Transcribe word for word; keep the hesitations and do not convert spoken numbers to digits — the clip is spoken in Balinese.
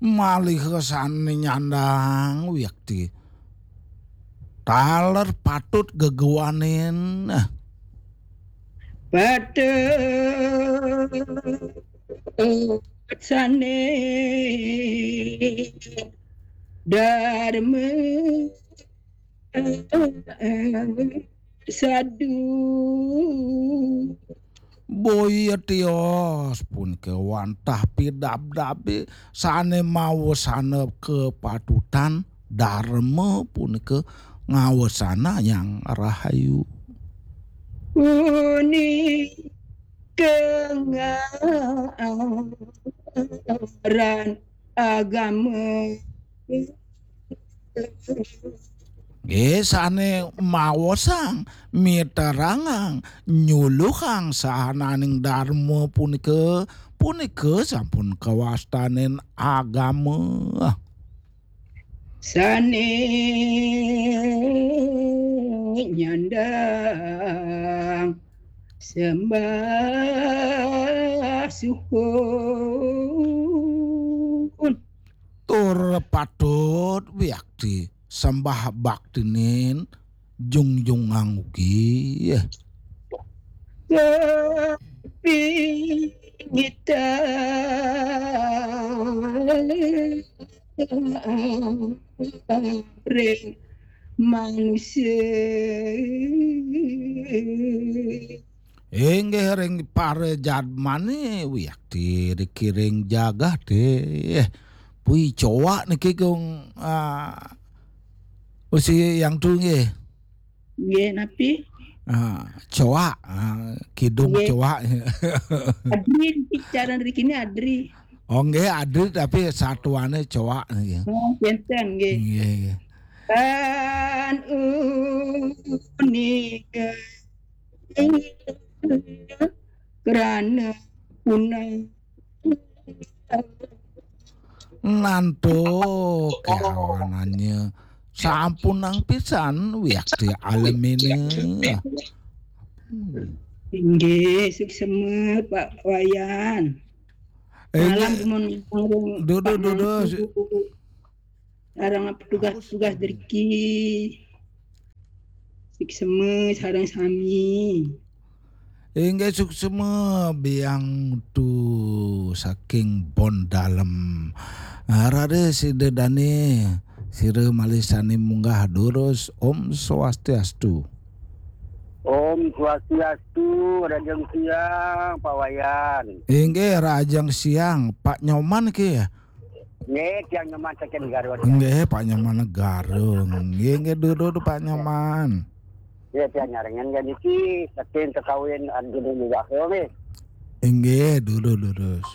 Malih sané nyandang wiakti. Taler patut gegewanin. Patut sané darma sadu. Boya tios punika wantah pidabdabe sané mawesana kapatutan, darma punika ngawesanayang rahayu. Punika ngaran agama. Nggih, sané mawosang, miterangang, nyuluhang sahananing darma punika, punika sampun kawastanin agama. Sané nyandang sembah suhun. Tur patut wiakti sembah baktinin jungjungang ugi. Tapi kita ring manusia. Inggih ring para jadmane wiakti dikiring jagat eh. Pui coak niki kung ah, usi yang tu nggih. Nggih napi? Ah, coak, ah, kidung nggih. Coak. Adri niki cara niki ni Adri. Oh nggih Adri tapi satuane coak nggih. Oh, pinten nggih. Nggih. Kan unika kerana punah. Nanto kawanannya sampunang pisan wiakti alemine. Inggih, suksema Pak Wayan. Eh, malam dumun dudu dudu. Sareng petugas-petugas deriki. Siksema sareng sami. Inggih suksema biang tu saking Bon Dalem. Ah, Rada sida dane sira malih sane munggah durus. Om Swastiastu. Om Swastiastu, Rajang Siang, Pak Wayan. Inggih Rajang Siang, Pak Nyoman ke. Nggih, tiang Nyoman saking Garut. Nggih, Pak Nyoman Garut. Nggih, nggih, durus Pak Nyoman. Nggih, tiang nyarengan kan niki saking kekawin Arjuna Nugraha nggih. Inggih, durus, durus.